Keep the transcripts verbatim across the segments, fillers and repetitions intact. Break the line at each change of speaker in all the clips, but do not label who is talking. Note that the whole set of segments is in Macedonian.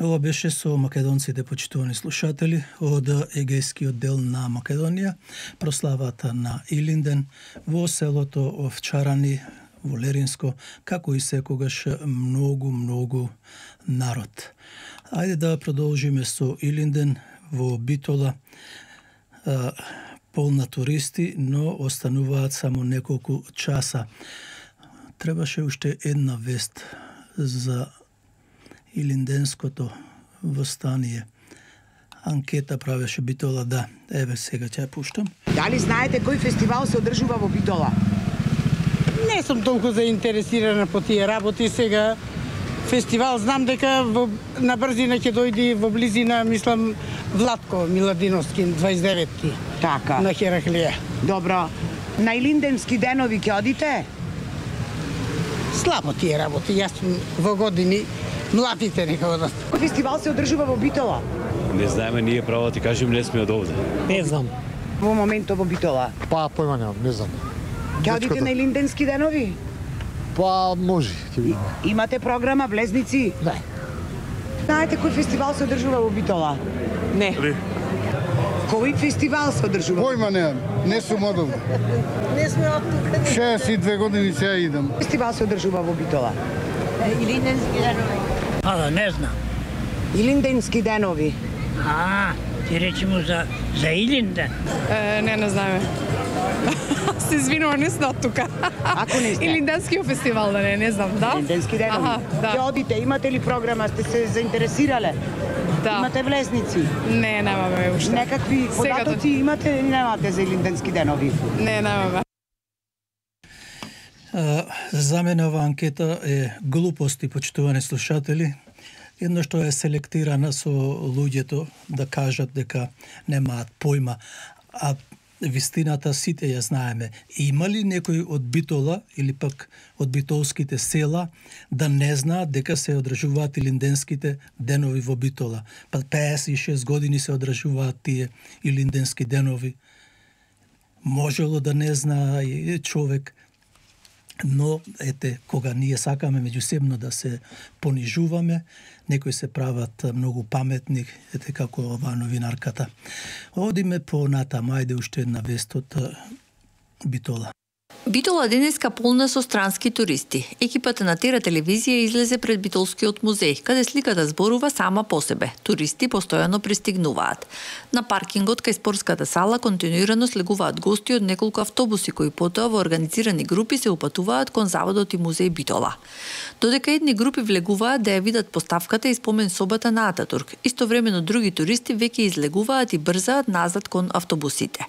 Ова беше со македонците, почитувани слушатели, од егејскиот дел на Македонија, прославата на Илинден во селото Овчарани, во Леринско, како и секогаш многу, многу народ. Ајде да продолжиме со Илинден во Битола, полна туристи, но остануваат само неколку часа. Требаше уште една вест за Илинденското востание. Анкета правеше Битола, да. Еве сега ќе ја пуштам.
Дали знаете кој фестивал се одржува во Битола?
Не сум толку заинтересирана по тие работи сега. Фестивал знам дека во, на брзина ќе дојде во близина, мислам, Владко Миладиновски, дваесет и деветти.
Така.
На Хераклија.
Добро. На Илинденски денови ќе одите?
Слабо тие работи. Јас сум во години, младите нека одат.
Кој фестивал се одржува во Битола?
Не знаеме, ние право ти кажем, не сме од овде.
Не знам.
Во моментот во Битола.
Па, појма немам, не знам.
Ќе одите на Илинденски денови?
Па, може.
Имате програма, влезници?
Не.
Знаете кој фестивал се одржува во Битола?
Не.
Кој фестивал се одржува?
Појма немам, не сум од овде.
Не сме од тука.
шеесет и две години сега идам.
Фестивал се одржува во Битола?
Илинденски денови.
А, да, не знам.
Илинденски денови.
А, ти речемо за, за Илинден.
Е, не, не знаеме. Се извинувам, не сме од тука.
Ако не сте?
Илинденскиот фестивал, да не, не знам, да?
Илинденски денови.
Аха, да.
Ќе одите, имате ли програма, сте се заинтересирале?
Да.
Имате влезници?
Не, немаме уште.
Некакви
Сега
податоци имате или немате за Илинденски денови?
Не, немаме.
За мене ова анкета е глупости, почитувани слушатели. Едно што е селектирана со луѓето да кажат дека немаат појма, а вистината сите ја знаеме. Има ли некој од Битола или пак од битолските села да не знаат дека се одржуваат Илинденските денови во Битола? Па пеесет и шест години се одржуваат тие Илинденски денови. Можело да не знае човек, но ете, кога ние сакаме меѓусебно да се понижуваме, некои се прават многу паметни, ете како оваа новинарката. Одиме по натаму, ајде уште една вест од Битола.
Битола денеска полна со странски туристи. Екипата на Тера телевизија излезе пред Битолскиот музеј, каде сликата зборува сама по себе. Туристи постојано пристигнуваат. На паркингот кај спортската сала континуирано слегуваат гости од неколку автобуси кои потоа во организирани групи се упатуваат кон заводот и музеј Битола. Додека едни групи влегуваат да ја видат поставката и спомен собата на Ататурк, истовремено други туристи веќе излегуваат и брзаат назад кон автобусите.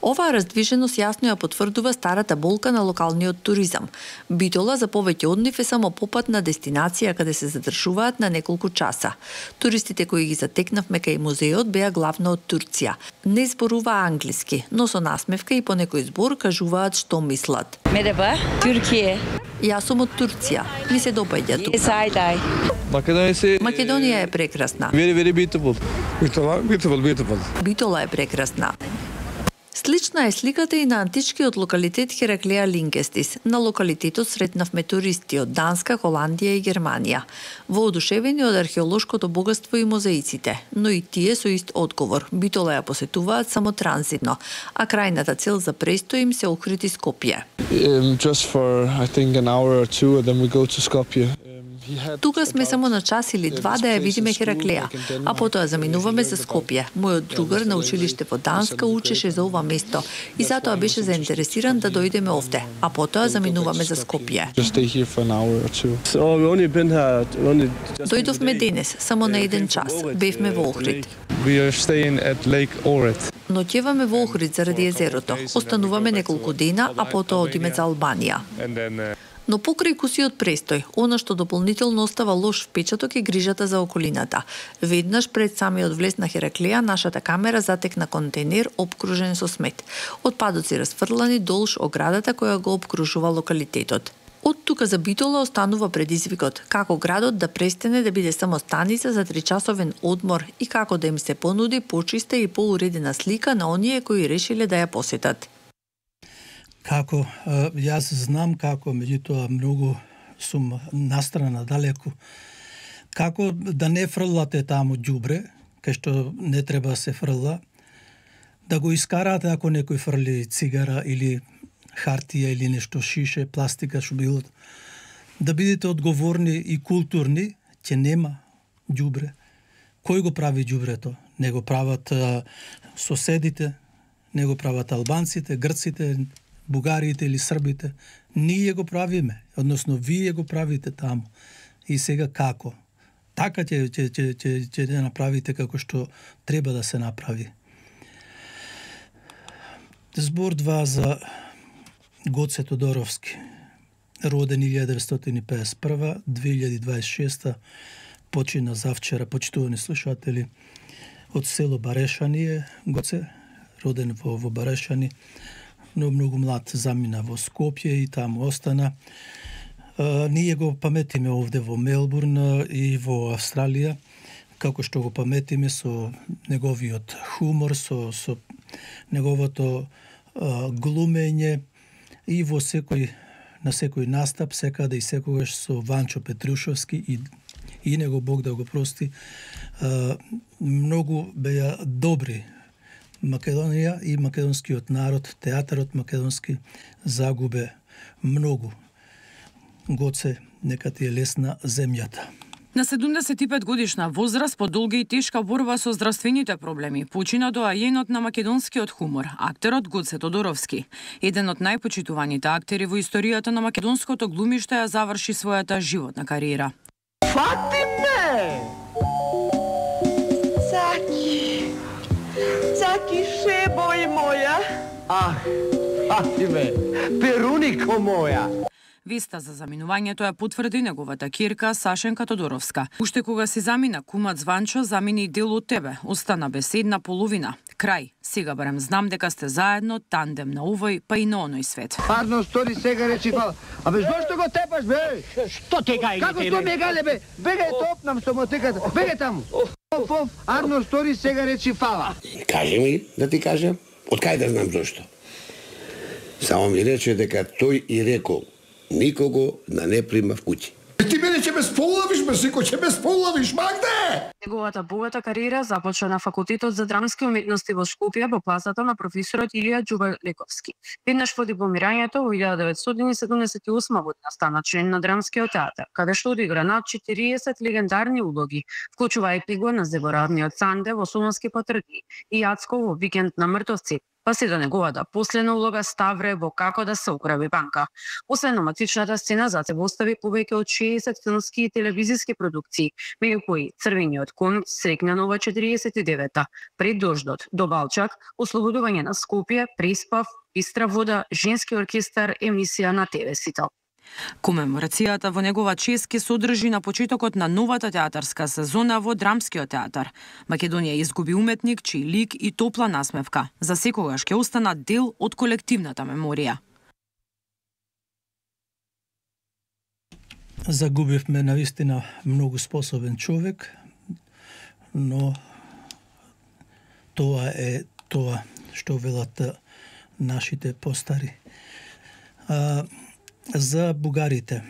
Оваа раздвиженост јасно ја потврдува старата болка на локалниот туризам. Битола за повеќе од нив е само попатна дестинација каде се задржуваат на неколку часа. Туристите кои ги затекнавме кај музеот беа главно од Турција. Не зборува англиски, но со насмевка и по некој збор кажуваат што мислат.
Мераба, Туркија.
Јас сум од Турција. Ми се допаѓа тука.
Сајдај.
Македонија
Македонија е прекрасна.
Very, very beautiful.
Битола, beautiful, beautiful.
Битола е прекрасна. Слична е сликата и на античкиот локалитет Хераклија Линкестис. На локалитетот сретнавме туристи од Данска, Холандија и Германија. Воодушевени од археолошкото богатство и музеиците, но и тие со ист одговор. Битола ја посетуваат само транзитно, а крајната цел за престој им се Охрид и Скопје.
Um, just for I think an hour or two and then we go to Skopje.
Тука сме само на час или два да ја видиме Хераклија, а потоа заминуваме за Скопје. Мојот другар на училиште во Данска учеше за ова место и затоа беше заинтересиран да дојдеме овде, а потоа заминуваме за Скопје. Дојдовме денес, само на еден час. Бевме во Охрид. Ноќеваме во Охрид заради езерото. Остануваме неколку дена, а потоа одиме за Албанија. Но покрај кусиот престој, она што дополнително остава лош впечаток е грижата за околината. Веднаш пред самиот влез на Хераклија, нашата камера затекна контейнер обкружен со смет. Отпадоци расфрлани долж оградата која го обкружува локалитетот. Од тука за Битола останува предизвикот како градот да престане да биде само станица за тричасовен одмор и како да им се понуди почиста и поуредена слика на оние кои решиле да ја посетат.
Како, јас знам како, меѓутоа многу сум настрана далеку, Како да не фрлате таму ѓубре, кај што не треба да се фрла, да го искарате ако некој фрли цигара или хартија или нешто шише, пластика, што било. Да бидете одговорни и културни, ќе нема ѓубре. Кој го прави ѓубрето? Не го прават а, соседите, не го прават албанците, грците, бугарите или србите. Ние го правиме, односно вие го правите таму. И сега како? Така ќе ќе ќе ќе ќе направите како што треба да се направи. Збор два за Гоце Тодоровски, роден илјада деветстотини и педесет и прва до две илјади дваесет и шеста, почина завчера, почитувани слушатели, од село Барешани е Гоце, роден во, во Барешани, но многу млад замина во Скопје и таму остана. А, ние го паметиме овде во Мелбурн и во Австралија, како што го паметиме со неговиот хумор, со, со неговото а, глумење и во секој на секој настап, секаде и секогаш со Ванчо Петрушовски и и него Бог да го прости. А, многу беа добри. Македонија и македонскиот народ, театарот македонски загубе многу. Гоце, нека ти е лесна земјата.
На седумдесет и пет годишна возраст, по долга и тешка борба со здравствените проблеми, почина доајенот на македонскиот хумор, актерот Гоце Тодоровски. Еден од најпочитуваните актери во историјата на македонското глумиште ја заврши својата животна кариера.
Фатиме! Цаки! Цаки шебој моја!
Ах, Фатиме, перунико моја!
Веста за заминувањето ја потврди неговата кирка Сашенка Тодоровска. Уште кога си замина, кумат Званчо замини и дел од тебе. Остана без една половина. Крај. Сега барем знам дека сте заедно, тандем на овој, па и на оној свет.
Арно стори сега речи фала. Абе, зошто го тепаш, бе?
Што те гајле?
Како што ме гајле, бе? Бегај топнам со мотиката. Бегај таму. Оф, оф, Арно стори сега речи фала.
Кажи ми, да ти кажем, од кај да знам зошто. Само ми рече дека тој и рекол никого да не прима в куќи.
Ти мене ќе ме сполавиш, бе, сико, ќе ме сполавиш, Магде!
Неговата богата кариера започна на Факултетот за драмски уметности во Скопје во класата на професорот Илија Џубалековски. Веднаш по дипломирањето во илјада деветстотини седумдесет и осма година стана член на Драмскиот театар, каде што одигра над четириесет легендарни улоги, вклучувајќи го на заборавниот Санде во Солунски патрди и Јацко во Викенд на мртовци, па се до неговата последна улога Ставре во Како да се украби банка. Освен номатичната сцена, за себе остави повеќе од шеесет филмски и телевизиски продукции, меѓу кои Црвениот кон, Срекна нова четириесет и девета, Пред дождот, До Балчак, Ослободување на Скопје, Преспав, Бистра вода, Женски оркестар, емисија на Те Ве Сител.
Комеморацијата во негова чест ќе се одржи на почетокот на новата театарска сезона во Драмскиот театар. Македонија изгуби уметник чиј лик и топла насмевка за секогаш ќе останат дел од колективната меморија.
Загубивме навистина многу способен човек, но тоа е тоа што велат нашите постари. А, за бугарите.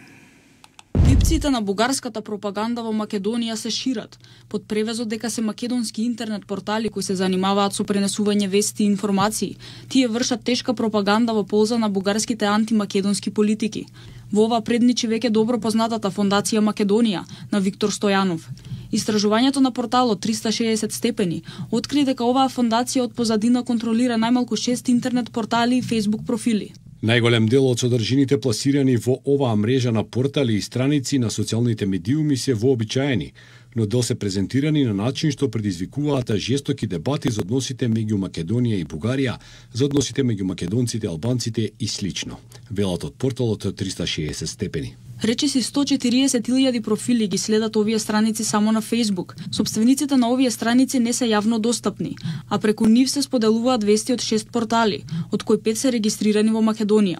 Липците на бугарската пропаганда во Македонија се шират, под превезот дека се македонски интернет портали кои се занимаваат со пренесување вести и информации. Тие вршат тешка пропаганда во полза на бугарските антимакедонски политики. Во ова предничи веќе добро познатата фондација Македонија на Виктор Стојанов. Истражувањето на порталот триста и шеесет степени откри дека оваа фондација од позадина контролира најмалку шест интернет портали и Facebook профили.
Најголем дел од содржините пласирани во оваа мрежа на портали и страници на социјалните медиуми се вообичаени, но дел се презентирани на начин што предизвикуваат жестоки дебати за односите меѓу Македонија и Бугарија, за односите меѓу македонците, албанците и слично. Велат од порталот триста и шеесет степени.
Речиси сто и четириесет илјади профили ги следат овие страници само на Facebook. Собствениците на овие страници не се јавно достапни, а преку нив се споделуваат вести од шест портали, од кои пет се регистрирани во Македонија.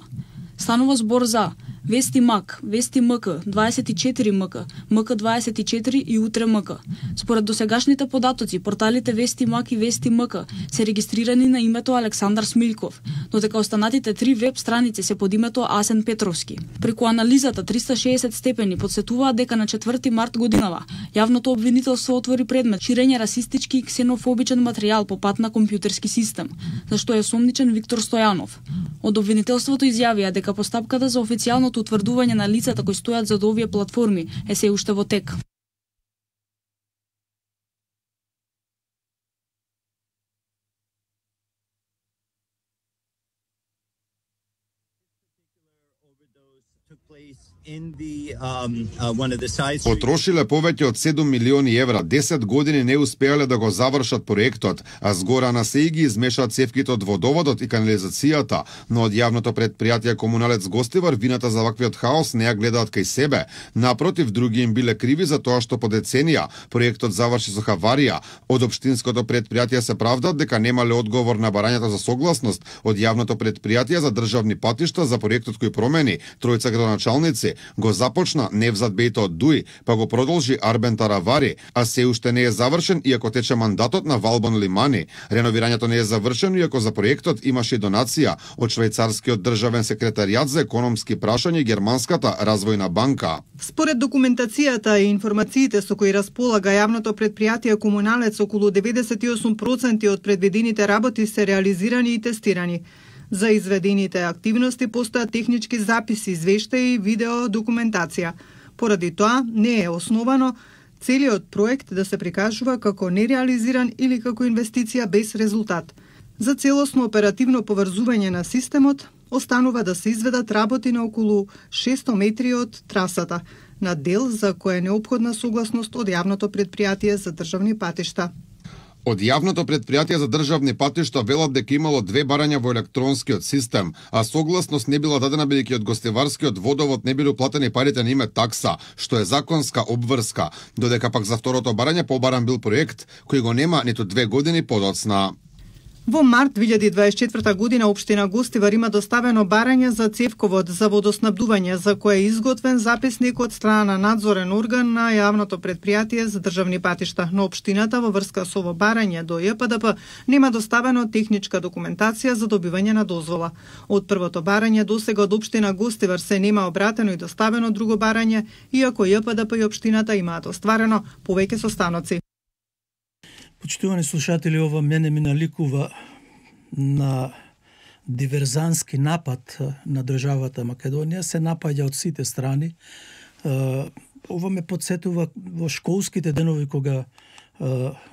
Станува збор за Вести МАК, Вести МК, дваесет и четири МК, МК дваесет и четири и Утре МК. Според досегашните податоци, порталите Вести МАК и Вести МК се регистрирани на името Александар Смилков, додека останатите три веб страници се под името Асен Петровски. Преку анализата триста и шеесет степени подсетуваат дека на четврти март годинава јавното обвинителство отвори предмет ширење расистички и ксенофобичен материјал по пат на компјутерски систем, за што е осомничен Виктор Стојанов. Од обвинителството изјавија дека постапката за официјалното утврдување на лицата кои стојат зад овие платформи е се уште во тек.
Потрошиле повеќе од седум милиони евра, десет години не успеале да го завршат проектот, а згора на се и ги измешаат цевките од водоводот и канализацијата, но од јавното предпријатие Комуналец Гостивар вината за ваквиот хаос не ја гледаат кај себе. Напротив, други им биле криви за тоа што по деценија проектот заврши со хаварија. Од општинското предпријатие се правдат дека немале одговор на барањето за согласност од јавното предпријатие за државни патишта за проектот кој промени тројца градоначалници. Го започна Невзат Бејто од Дуј, па го продолжи Арбен Таравари, а се уште не е завршен иако тече мандатот на Валбон Лимани. Реновирањето не е завршено иако за проектот имаше и донација од швајцарскиот државен секретаријат за економски прашања и Германската развојна банка.
Според документацијата и информациите со кои располага јавното предпријатие Комуналец, околу деветдесет и осум проценти од предвидените работи се реализирани и тестирани. За изведените активности постојат технички записи, извештаи и видео документација. Поради тоа не е основано целиот проект да се прикажува како нереализиран или како инвестиција без резултат. За целосно оперативно поврзување на системот останува да се изведат работи на околу шесто метри од трасата, на дел за која е неопходна согласност од јавното предпријатие за државни патишта.
Од јавното предпријатие за државни патишта велат дека имало две барања во електронскиот систем, а согласност не била дадена бидејќи од гостиварскиот водовод не били платени парите на име такса, што е законска обврска, додека пак за второто барање побаран бил проект кој го нема ниту две години подоцна.
Во март две илјади дваесет и четврта година општина Гостивар има доставено барање за цевковод за водоснабдување, за кое е изготвен записник од страна на надзорен орган на јавното предпријатие за државни патишта. Но општината во врска со ово барање до Ј П Д П нема доставено техничка документација за добивање на дозвола. Од првото барање досега од општина Гостивар се нема обратено и доставено друго барање, иако Ј П Д П и општината имаат остварено повеќе состаноци.
Почитувани слушатели, ова мене ми наликува на диверзански напад на државата Македонија, се напаѓа од сите страни. Ова ме подсетува во школските денови кога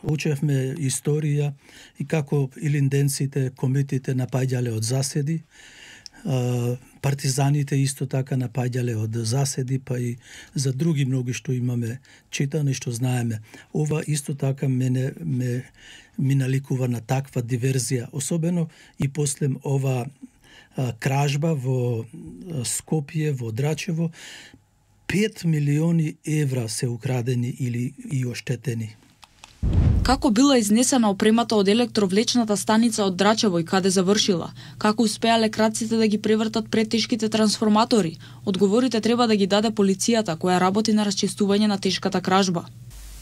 учевме историја и како илинденците, комитите напаѓале од заседи. Партизаните исто така напаѓале од заседи, па и за други многи што имаме читано и што знаеме. Ова исто така мене ме ми наликува на таква диверзија, особено и после ова а, кражба во Скопје, во Драчево, пет милиони евра се украдени или и оштетени.
Како била изнесена опремата од електровлечната станица од Драчево и каде завршила? Како успеале крадците да ги превртат претешките трансформатори? Одговорите треба да ги даде полицијата, која работи на расчистување на тешката кражба.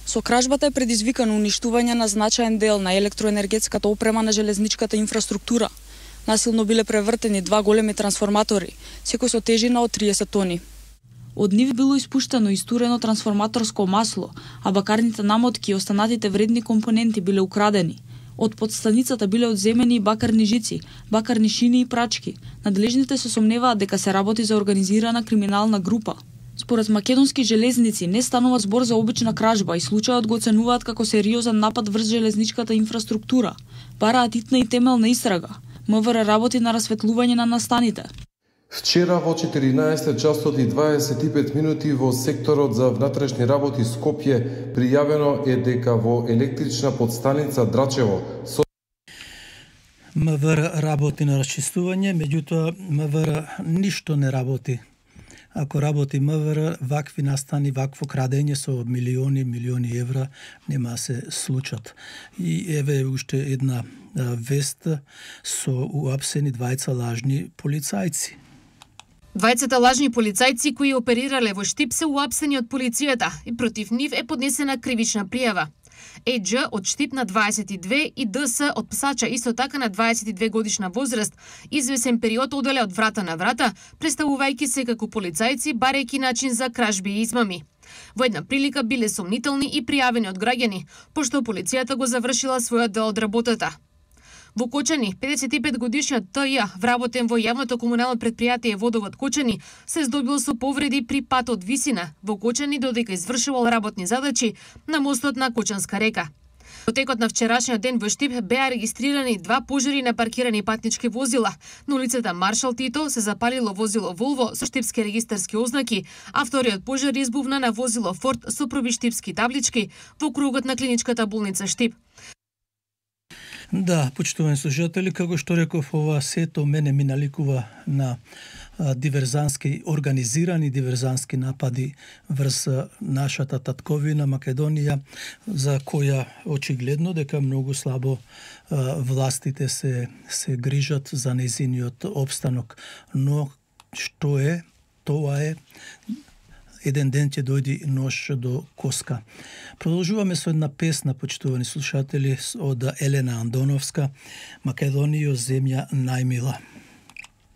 Со кражбата е предизвикано уништување на значаен дел на електроенергетската опрема на железничката инфраструктура. Насилно биле превртени два големи трансформатори, секој со тежина од триесет тони. Од нив било испуштено истурено трансформаторско масло, а бакарните намотки и останатите вредни компоненти биле украдени. Од подстаницата биле одземени и бакарни жици, бакарни шини и прачки. Надлежните се сомневаат дека се работи за организирана криминална група. Според македонски железници не станува збор за обична кражба и случајот го оценуваат како сериозен напад врз железничката инфраструктура. Бараат итна и темелна истрага. МВР работи на расветлување на настаните.
Вчера во четиринаесет часот и дваесет и пет минути во секторот за внатрешни работи Скопје пријавено е дека во електрична подстаница Драчево со
МВР работи на расчистување, меѓутоа МВР ништо не работи. Ако работи МВР, вакви настани, вакво крадење со милиони, милиони евра нема да се случат. И еве уште една вест со уапсени двајца лажни полицајци.
Двајцата лажни полицајци кои оперирале во Штип се уапсени од полицијата и против нив е поднесена кривична пријава. Еџ од Штип на дваесет и две и ДС од Псача исто така на дваесет и две годишна возраст, извесен период оделе од врата на врата, представувајќи се како полицајци барејќи начин за кражби и измами. Во една прилика биле сомнителни и пријавени од граѓани, пошто полицијата го завршила својот дел од работата. Во Кочани, педесет и пет годишниот Т Ј, вработен во јавното комунално предпријатие Водовод Кочани, се здобил со повреди при пат од Висина во Кочани додека извршувал работни задачи на мостот на Кочанска река. Во текот на вчерашниот ден во Штип беа регистрирани два пожари на паркирани патнички возила. На улицата Маршал Тито се запалило возило Волво со штипски регистарски ознаки, а вториот пожар избувна на возило Форд со проби штипски таблички во кругот на клиничката болница Штип.
Да, почитувани слушатели, како што реков, ова сето мене ми наликува на а, диверзански, организирани диверзански напади врз нашата татковина Македонија, за која очигледно дека многу слабо а, властите се, се грижат за нејзиниот обстанок. Но што е, тоа е, еден ден ќе дојди нож до коска. Продолжуваме со една песна, почитувани слушатели, од Елена Андоновска, Македонијо земја најмила.